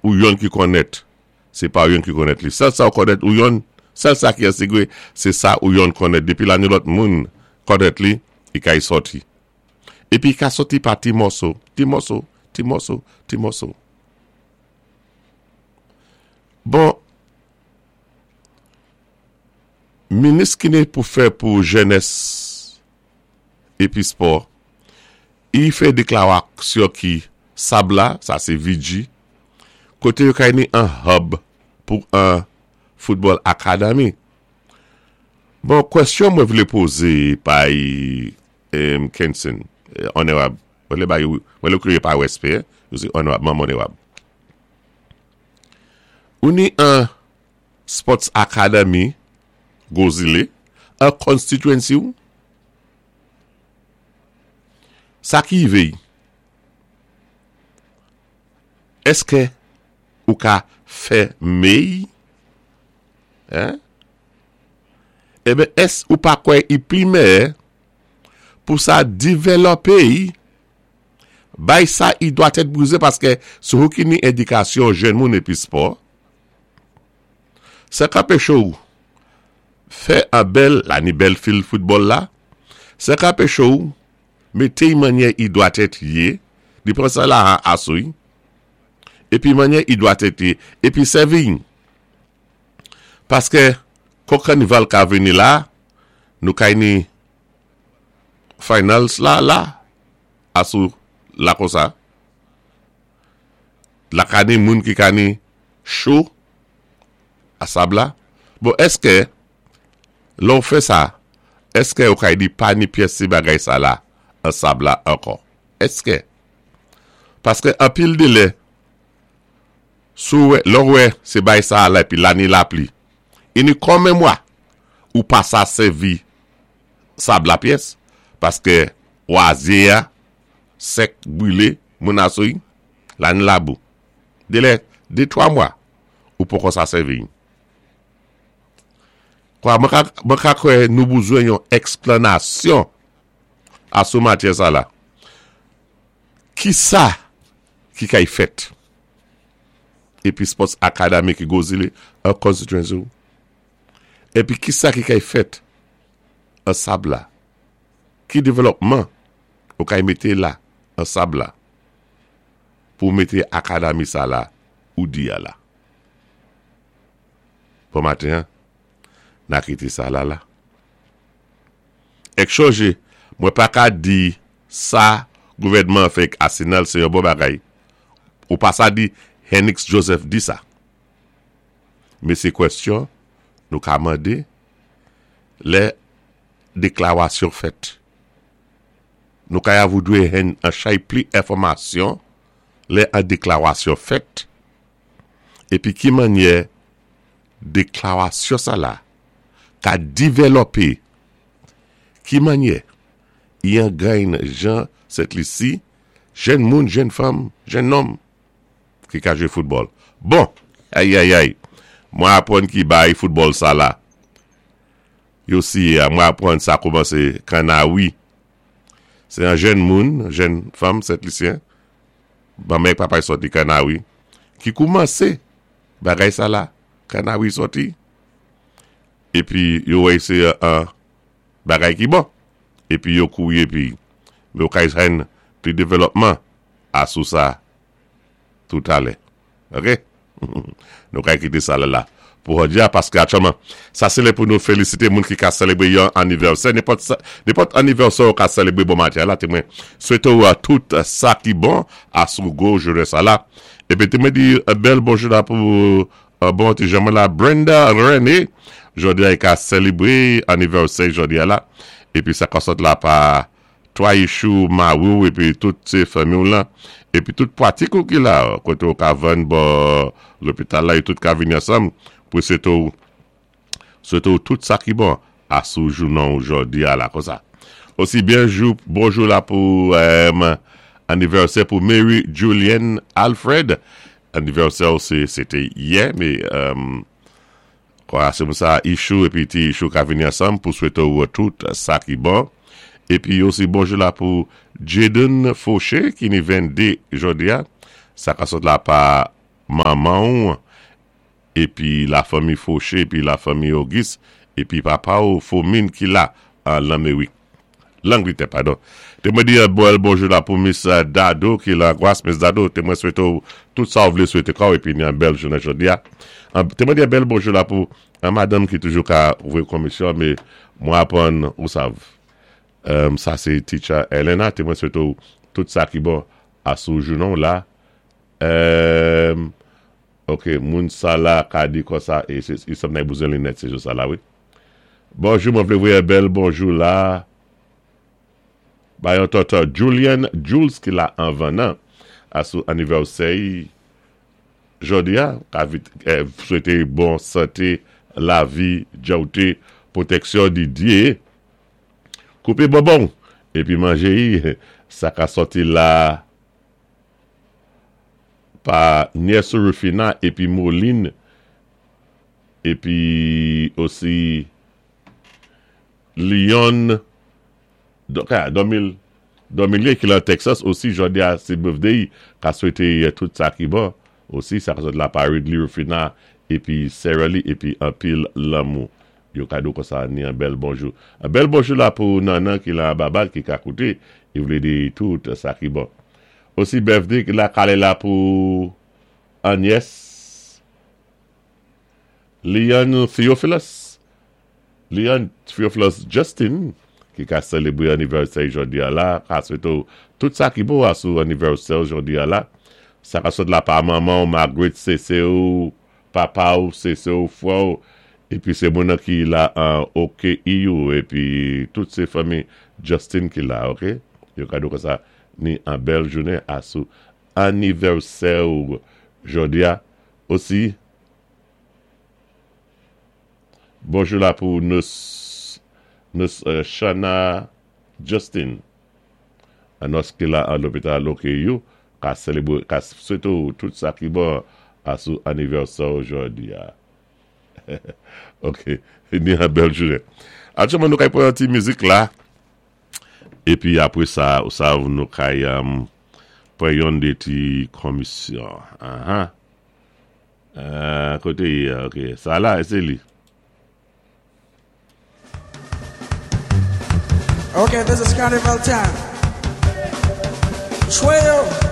ou yonn ki konnèt, sé pa ou yonn ki konnèt li. Sèl sa ou konnèt ou yonn, sèl sa ki an sigré, sé sa ou yonn konnèt. Dépi la ni lòt moun konnèt li, i kay sòti. Épi i ka sòti pa ti mòso, ti mòso, ti mòso, ti mòso. Bon, minis ki ni pou fè pou jènès épi spò, i fè déklawaksyon ki sab la, sa sé Vigie, koté yo kay ni an hub pou an football academy. Bon, kwèsyon mwen vlé pozé pay Kenson, onerab, mwen vlé bay, mwen vlé kriye pa respè, yo sé onerab, manm onerab. Ou ni an sports academy Gwo Zile, an constituency ou? Sa ki rive y? Eske ou ka fè mey? Hein? Eben es ou pa kwè i pli meyè pou sa divèlòpe y bay sa i dwa tèt brize paske se ou ki ni edikasyon jèn moun epi spò sa k anpeche w fè an bèl la ni bèl fil foutbòl la sa k anpeche w mete y mannyè i dwa tèt ye li pran sa la a asou y epi mannyè i dwa tèt ye epi sèvi y Paskè kon kanival ka vini la nou kay ni finals la la asou la konsa la ka ni moun ki ka ni cho a sab la bon èskè lè ou fè sa èskè ou kay di pa ni pyès ti bagay sa la an sab la ankò èskè paskè anpil delè Si w wè, lè w wè se bay sa a la epi la ni lapli. Ini kòmen mwa ou pa sa sèvi sab la pyès paske wazye a sèk brile moun asou la ni labou. Delè de twa mwa ou poko sa sèvi. Kwa mwen ka mwen ka kwè nou bouzwen yon eksplanasyon asou matyè sa la. Kisa ki kay fèt? Epi Sports Academy ki Gozile an constituency ou? Epi kisa ki kay fèt an sab la? Ki developman ou kay mete la an sab la pou mete academy sa la ou di a la? Bon maten an, na kite sa la la. Ek chonje, mwen pa ka di sa gouvènman an fè ek Asenal se yon bon bagay. Ou pa sa di Henix Joseph di sa. Men se kwèsyon nou ka mande lè deklawasyon fèt. Nou ka ya voudwe hen an chay pli enfòmasyon lè an deklawasyon fèt epi ki mannyè deklawasyon sa la ka divèlòpe ki mannyè i an gany jan Sent Lisi jèn moun, jèn fanm, jèn nonm ki ka jwe foutbòl. Bon! Ayayay! Mwen aprann ki bay foutbòl sa la yo siye a. Mwen aprann sa koumanse Kannawi. Se yon jèn moun, jèn fanm Sent Lisyen, manman ak papa l sòti Kannawi, ki koumanse bagay sa la. Kannawi sòti. Epi yo wè se yon bagay ki bon. Epi yo kouri epi yo kay jwenn pli developman a sou sa toutalè. Ok. Nou kay kite sa la pou jodi a paske aktyèlman sa se lè pou nou felisite moun ki ka selebre yon anivèsè. Nenpòt sa, nenpòt anivèsè ou ka selebre bon maten la te mwen swete ou tout sa ki bon a sou gwo jounen sa la. Epi te mwen di bèl bonjou la pou Bon ti jan mwen la Brenda Rene jodi a i ka selebre anivèsè jodi a la epi sa ka sot la pa 3 ichou mari w epi tout se fanmi w lan epi tout pwatik ou ki la kote ou ka vann bò lopital la yo tout ka vini ansanm pou swete w swete w tout sa ki bon a sou jounen w jodi a la konsa osi byen jou bonjou la pou anivèsè pou Mary Julienne Alfred Anivèsè w se se te yè me kwa se pou sa Ichou epi ti Ichou ka vini ansanm pou swete w tout sa ki bon epi osi bonjou la pou Jaden Fauché ki ni 22 jodi a sa ka sot la pa. Manman w épi la fanmi Fauché épi la fanmi Auguste épi papa w Fomin ki la an Lanmerik. Langlitè padon. Té mwen di yon bèl bonjou la pou Miss Dado ki lan Gwas. Miss Dado, té mwen swété w tout sa w vlé swété kò w épi ni yon bèl jounen jodi a. Té mwen di yon bèl bonjou la pou yon madanm ki toujou ka voyé konmisyon mé mwen aprann ou sav. Sa sé Teacher Elena. Té mwen swété w tout sa ki bon asou jounen w la. Ok moun sa la ka di konsa e se sanm nèg bezwen linèt se jou sa la wi. Bonjou mwen vle voye bèl bonjou la bay yon tonton Julian Jules ki la anvan nan a sou anivèsè y jodi a ka vit swete bon sante lavi djawte pwoteksyon di Dye koupe bonbon epi manje y sa ka sòti la. Pa Nyès Rufina epi Moline epi osi Lyon Dormilien ki lan Texas osi jodi a se birthday ka swete tout sa ki bon osi sa ka sot la pa Ridley Rufina epi Sarah Lee epi anpil lanmou yo kado konsa ni an bèl bonjou an bèl bonjou la pou Nannan ki lan Babad ki ka koute e vle di tout sa ki bon. Osi birthday la kale la pou Agnès Leon Theophilus Leon Theophilus Justin ki ka selebre anivèsè jodi a la ka swete w tout sa ki bon asou anivèsè w jodi a la sa ka sot la pa manman w Margaret sese w papa w sese w frè w epi se moun nan ki la an OKEU epi tout se fanmi Justin ki la ok yo ka di w konsa Ni an bèl jounen a sou anivèsè ou jodi a osi. Bonjou la pou nous nous Shana Justin nòs ki la an lopital OKU ka selebre ka swete ou tout sa ki bon a sou anivèsè ou jodi a. Ok ni an bèl jounen. Aktyèlman nou kay pran yon ti mizik la. Epi apre sa ou sav nou kay pran yonn de ti konmisyon aha kote ye ok sa la se li. Ok this is carnival time Chwe yo.